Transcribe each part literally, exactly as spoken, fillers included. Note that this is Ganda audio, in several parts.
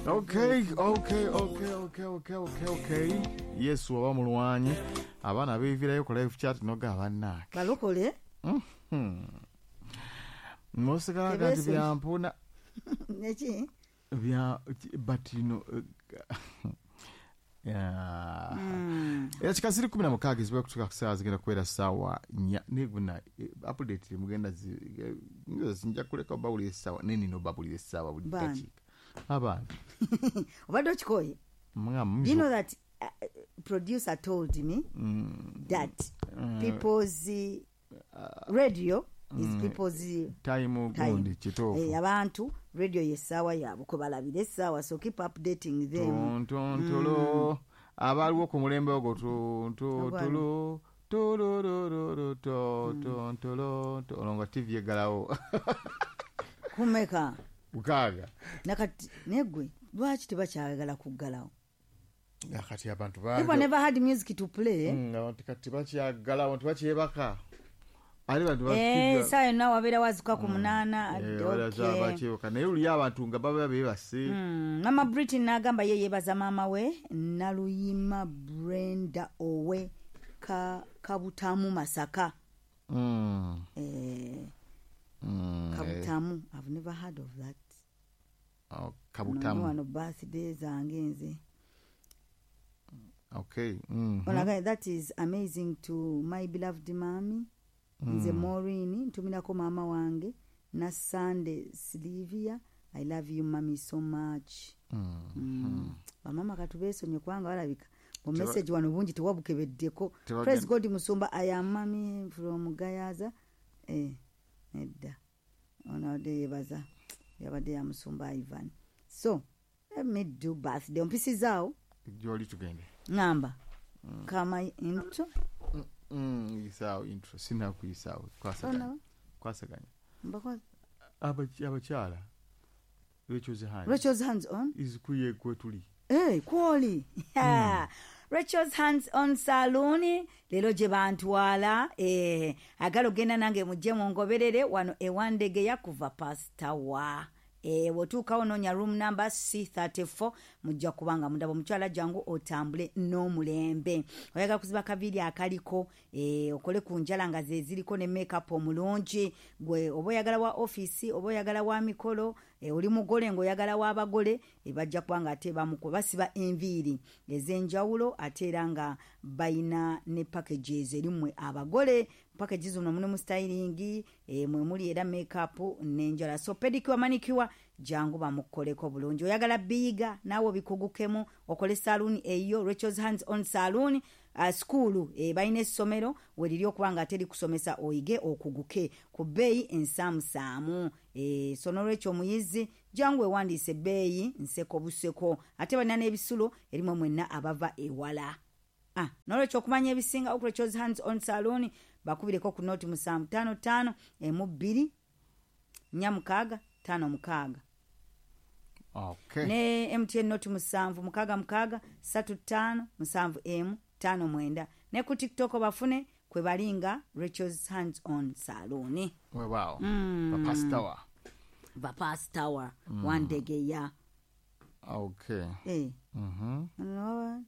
Okay, okay, okay, okay, okay, okay, okay. Yesu oba mulwanyi abaana beevirayo ku live chat noga bannaake balokole. Mhm. Nosigala kati Tebeeso- byampuna neki bya but you know uh, yeah. Ekika ziri kumi na mukaaga eziba kutuuka ku ssaawa zigenda kubeera ssaawa nnya neguna update temugenda zi- eh, nja kuleka obawulira essaawa naye nina obabulira essaawa buli Baani? dakiika abantu. Obadde okikoye. Mwa- You know that uh, producer told me that people's uh, radio is people's uh, time time. Gundi kituufu. Eh, abantu radio yessaawa yaabwe kwe balabira essaawa, so keep updating them. Tontontolo abaliwo ku mulembe ogwo tuntontolo tololololo tontolo olwo nga T V eggalawo. Kumeka? Mukaaga. Nakati negwe lwaki tebakyayagala kuggalawo? Kati abantu People never had music to play. Mm, abantu kati bakyagalawo tebakyebaka ate bantu. Eh, essaawa yonna wabeera wazuka ku munaana. Okay. Bakyebaka naye luli abantu nga baba beebase. Mm, mama Britain n'agamba ye yeebaza maama we Naluyima Brenda owe ka, Kabutamu, Masaka. Mm, eh, mm, eh, Kabutamu, I've never heard of that. Oh, Nono Kabutamu. Wano birthday zange nze. Okay mhm. Olaga, that is amazing to my beloved mami. Nze Maureen ntumirako maama wange na Sunday Silivia. I love you, mami, so much. Mm. Mm. Bamama katubeesonye kubanga balabika Teba- message wano bungi tewabukebeddeko. Tebagenda- Praise God, musumba. I am mami from Gayaza. Eh, nedda, ono abadde yebaza, yabadde ya musumba Ivan. So let me do birthday ompisizaawo. Gyoli tugende. Ŋŋamba kama intro. Mm, yisaawo intro, sinakuyisaawo, kwasaganya. Ono, Kwasaganya. mbakwa- Abaky- abakyala Rachel's Hand. Rachel's Hands On. Is kuye kwetuli. Hey, kwoli mm. Rachel's Hands On Saloon leero gye bantwala. Eh, agala ogenda nange mujje mungoberere wano ewandegeya kuva pasitawa. Eh, bw'otuukawo noonya room number C thirty-four, mujja kubanga mundaba. Omukyala jangu otambule n'omulembe. Oyagala kuziba kaviiri akaliko, eh, okole ku njala nga ze ziriko ne makeup omulungi gwe, oba oyagala wa offisi oba oyagala wa mikolo, eh, oli mugole ng'oyagala w'abagole, eh, bajja kuba nga ate bamuko basiba enviiri ez'enjawulo ate era nga bayina ne packages erimmwe abagole. Package zino mulimu styling, eh, mwe muli era makeup n'enjala, so pedicure, manicure, jangu bamukoleko bulungi. Oyagala biyiga naawe obikugukemu okole saloon eyo, Rachel's Hands On Saloon. uh, school e, balina essomero weriri okuba nga teri kusomesa oyige okuguke ku bbeeyi ensaamusaamu. e, so nolwekyo omuyizi jangu ewandiise, ebbeeyi nseko buseko, ate balina n'ebisulo erimwe mwenna abava ewala. Ah, nolwekyo okumanya ebisinga oku Rachel's Hands On Saloon bakubireko ku noti musanvu ttaano ttaano emu bbiri nnya mukaaga ttaano mukaaga. Okay. Ne M T N noti musanvu mukaaga mukaaga ssatu ttaano musanvu emu ttaano mwenda. Ne ku TikTok bafune kwe balinga Rachel's Hands On Saloon. Weewaawo. Mm. Bapasitawa. Bapastawa mm. Wandegeya. Okay. Eh. Mhm. No,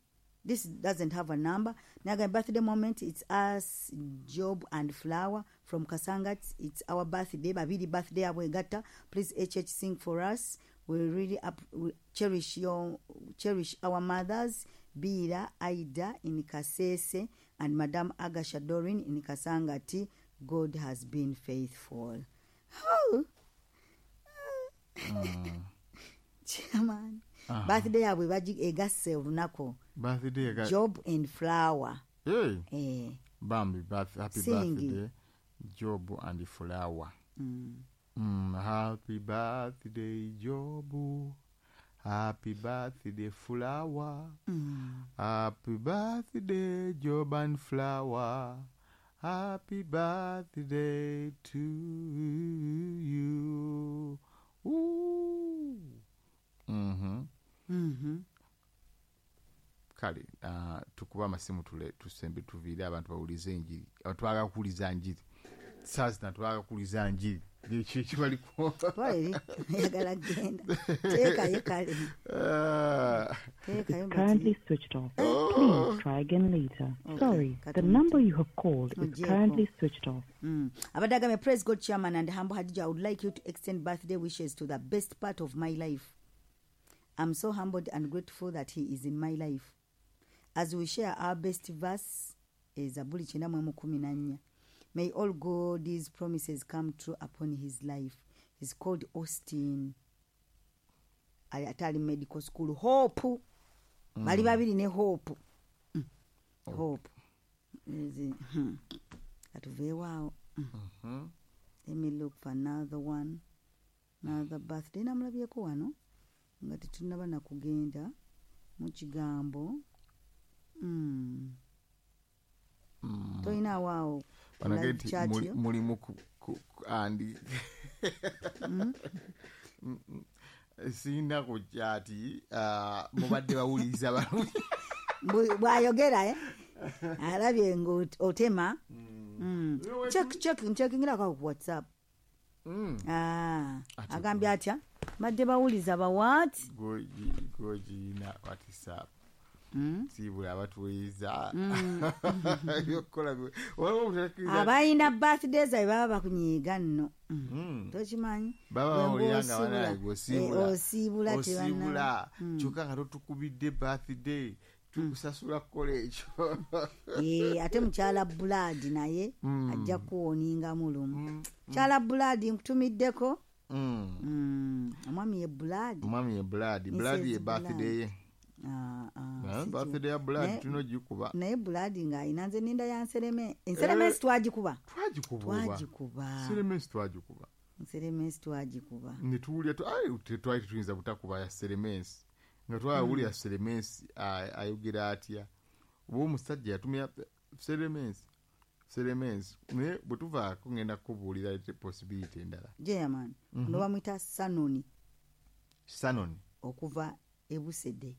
this doesn't have a number. Naga birthday moment, it's us, Job and Flower from Kasangat. It's our birthday. Babiri birthday abwegata. Please H H sing for us. We really up, we cherish your cherish our mothers, Bira Aida in Kasese and Madame Agasha Dorin in Kasangati. God has been faithful. Oh. Chairman. Aha. Birthday yabwe bagi egasse olunaku. Birthday ga Job and Flower. Hey. Eh. Bambi birth, happy Sing. birthday, Job and Flower. Mm. Mm, happy birthday, Job. Happy birthday, Flower. Mm. Happy birthday, Job and Flower. Happy birthday to you. Ooh. Mm-hmm. Mm-hmm. Kale uh, tukuba amasimu tule tusembe tuviire abantu bawulize enjiri. Abantu baagala kuwuliza njiri saa zino, twagala kuwuliza njiri. Ekyo kibaliko. Twala eri, ayagala genda. Teekayo kale. Ah. Teekayo Currently bati. switched off. Oh. Please try again later. Okay, Sorry, the kati number you have called is Ogyeko. currently switched off. Mm. Abadde agambye, "Praise God, chairman and humble Hadija. I would like you to extend birthday wishes to the best part of my life. I'm so humbled and grateful that he is in my life. As we share our best verse, Zabuli kyenda mu emu kumi na nnya. May all God's promises come true upon his life. He's called Austin. Ali ate ali medical school. Hope. Bali babiri ne Hope. Mm. Hope. Ezi- hmm. Katuveewo awo. Mm. Let me look for another one. Another birthday. Namulabyeko wano nga tetunnaba na kugenda mu kigambo. Mm. Toyinaawo awo ku Banage live nti chat muli- yo? Mulimu ku- ku- ku- andi sirina ku chat, ah, mubadde bawuliriza balungi. Bwe- bw'ayogera eh? Alabye ng'otema. Mm. Check, check, ncheckingirako ku WhatsApp. Mm. Ah, Ate agambye atya? Badde bawuliza bawaati. Gogi- gogirina WhatsApp. Mm. Siibula abatuwuliriza ebyokukola bye- waliwo obutakkiriza. Abalina birthday zaabwe baba bakunyiiga nno. Mm. Mm. Tokimanyi? Baba Bwe bawulira nga ng'osiibula, banaye gweosiibula. eh, osiibula tebanna- Osiibula kyokka nga totukubidde birthday, tukusasula kukola ekyo. Eh, ate mukyala Buladi naye Mm. ajja kuwoningamu lumu. Mukyala Buladi, nkutumiddeko. Mm. Mm, omwami ye Buladi. Omwami ye Buladi. Missus Buladi ye birthday ye. Ah, ah, Eh, si birthday ya Buladi Naye- tulina ogikuba. Naye Buladi ng'alina, nze ninda ya nsereme. Enseremesi Eh. twagikuba. Twagikuba oba? Twagikuba. Seremesi twagikuba. Nseremesi twagikuba. Ne tuwulira tu- ai, te- twali tetuyinza butakuba ya seremensi nga twawulira seremensi a- ayogera atya oba omusajja yatumya seremensi seremensi. Naye bwe tuvaako ngenda kukubuulira possibility endala. Jeyaman, Mhm. ono bamuyita Sanoni Sanon okuva Ebusedde.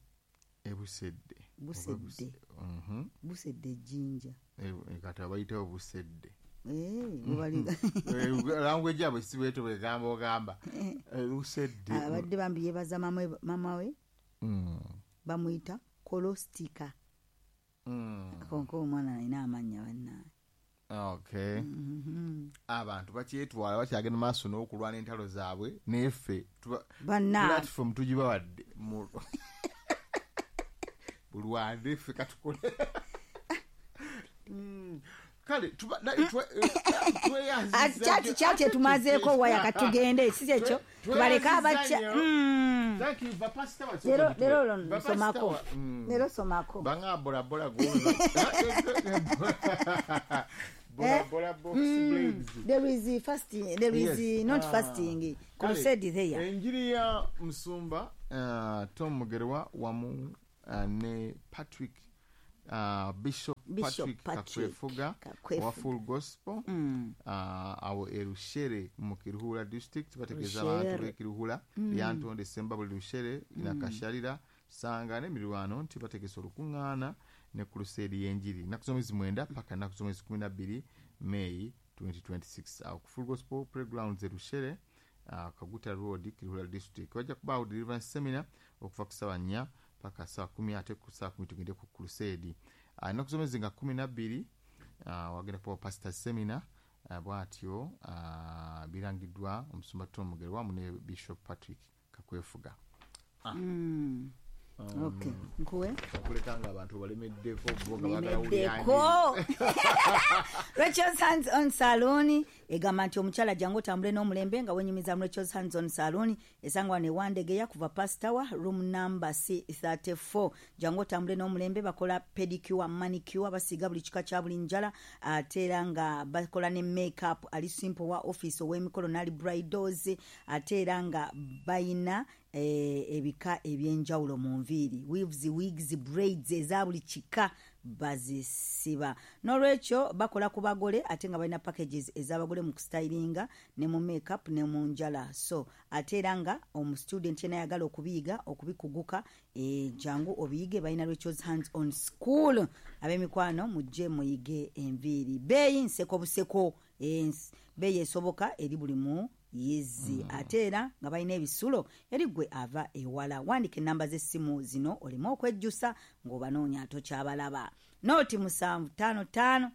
Ebusedde. Busedde. Mhm. Busedde Jjinja. Eh, kati abayitawo Busedde. Eh, webali- Language yabwe si bweto bwegamba ogamba Eh, Busedde. Abadde bambi yebaza mama we- mama we Mm. bamuyita Kolostika. Mm. Konka omwana alina amannya bannaye. Okay. Mhm. Abantu bakyetwala, bakyagenda maaso n'okulwana entalo zaabwe neffe tuba- Banna platform tugibawadde mu- bulwane, ffe katukole. Mm. Kale tuba- na- twe- eh, tweyanziza Kyati nnyo. kyati etumazeeko waya, katugende, si kyekyo? Tubaleke abakya. Tweyanziza nnyo. Mm. Thank you, bapasita wa- Leero, leero olwo Bapasita nsomako. wa- Mm. Leero somako. Banga bola bola go bola bola box blades. There is fasting, there is Yes. not Ah. fasting Kale, crusade there. Enjiri ya musumba uh, Tom Mugerwa wamu uh, ne Patrick, uh, Bishop, Bishop Patrick Patrick Kakwefuga Kakwefuga. wa Full Gospel Mm. uh, awo e Rushere mu Kiruhura district. Bategeeza Rushere. abantu b'e Kiruhura, Lyantonde, Sembabule, Rushere, Nakasharira, Sanga n'emirwano nti bategese olukuŋŋaana ne crusade y'enjiri ennaku z'omwezi mwenda paka ennaku z'omwezi kumi na bbiri May twenty twenty-six awo ku Full Gospel Playgrounds e Rushere, uh, Kaguta Road, Kiruhura district. Wajja kubaawo deliverance seminar okuva ku ssaawa nnya paka ssaawa kumi, ate ku ssaawa kumi tugende ku crusade. uh, ennaku z'omwezi nga kumi na bbiri uh, wagenda kubawo pastor seminar. uh, bwatyo uh, birangiddwa omusumba Tom Mugerwa wamu ne Bishop Patrick Kakwefuga. Mm. Okay, nkuwe. Okuleka nga abantu balemeddeko bo nga baagala wulira njiri. Lemeddeko. Rachel's Hands On Saloon egamba nti omukyala jangu otambule n'omulembe nga wenyumiza mu Rachel's Hands On Saloon, esangwa ne Wandegeya kuva Pastawa, room number C thirty-four. Jangu otambule n'omulembe. Bakola pedicure, manicure, basiiga buli kika kya buli njala, ate era nga bakola ne makeup ali simple, wa office, ow'emikolo n'ali bridals. Ate era nga bayina eh, ebika ebyenjawulo mu nviiri, weaves, wigs, braids eza buli kika bazisiba. N'olwekyo bakola ku bagole, ate nga balina packages ez'abagole mu kustylinga ne mu makeup ne mu njala. So ate era nga omustudent yena ayagala okubiyiga, okubikuguka, e, jangu obiyige. Balina Rachel's Hands On School. Ab'emikwano, mujje muyige enviiri. Beeyi nseko buseko, eh, beeyi esoboka eri buli mu yizi mm. Ate era nga balina ebisulo eri gwe ava ewala. Wandika enamba z'essimu zino olimu okwejjusa ng'obanoonya tokyabalaba. Nooti musanvu ttaano ttaano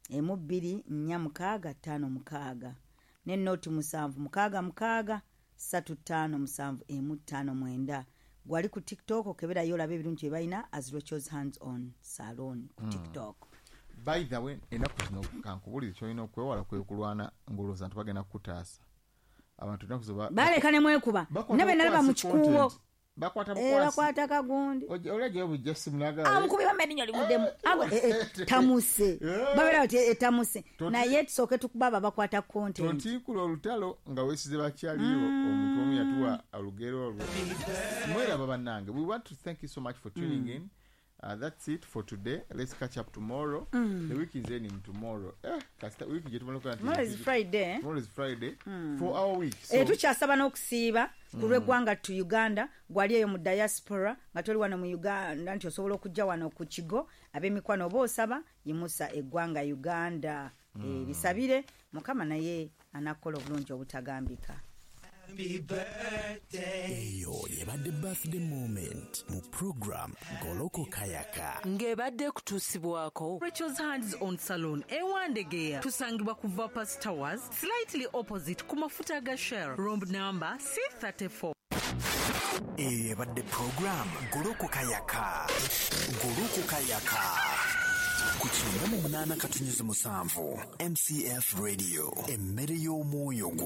emu bbiri nnya mukaaga ttaano mukaaga ne nooti musanvu mukaaga mukaaga ssatu ttaano musanvu emu ttaano mwenda. Gwali ku TikTok okeberayo olabe ebirungi bye balina as Rachel's Hands On Salon ku TikTok. By the way, ennaku zino kankubulire kyolina okwewala kwe kulwana ng'olowooza nti bagenda kukutaasa. Abantu ennaku zino baleka ne mwekuba nabe nalaba mu kikuubo bakwata bukwasi bakwata kagundi oli ajayo bujja simu n'agala amukubi bambe livuddemu tamuse babeera bati etamuse naye tusooke tukubaba bakwata content. Tontiikula olutalo nga weesize bakyaliyo. Omuntu omu yatuwa olugero olwo. Mweraba bannange, we want to thank you so much for tuning in. Uh, that's it for today. Let's catch up tomorrow. Mm. The week is ending tomorrow. Eh, kasita week je tomorrow. Tomorrow is Friday. Tomorrow is Friday. Mm. For our week. So eh tukyasaba n'okusiiba ku lw'eggwanga to Uganda, gwali eyo mu diaspora nga toli wano mu Uganda nti osobola okujja wano ku kigo ab'emikwano oba osaba yimusa eggwanga Uganda. Mm. Eh, lisabire Mukama naye anakola obulungi obutagambika. Eyo yebadde birthday moment mu program Goloko Kayaka ng'ebadde kutuusibwako Rachel's Hands On Salon ewandegeya. Tusangibwa ku Vapors Towers slightly opposite ku mafuta ga Shell, room number C thirty-four. Eyo yebadde program Goloko Kayaka. Goloko Kayaka ku kyenda mu munaana katunyuzi musanvu M C F Radio, emmere y'omwoyo gwo.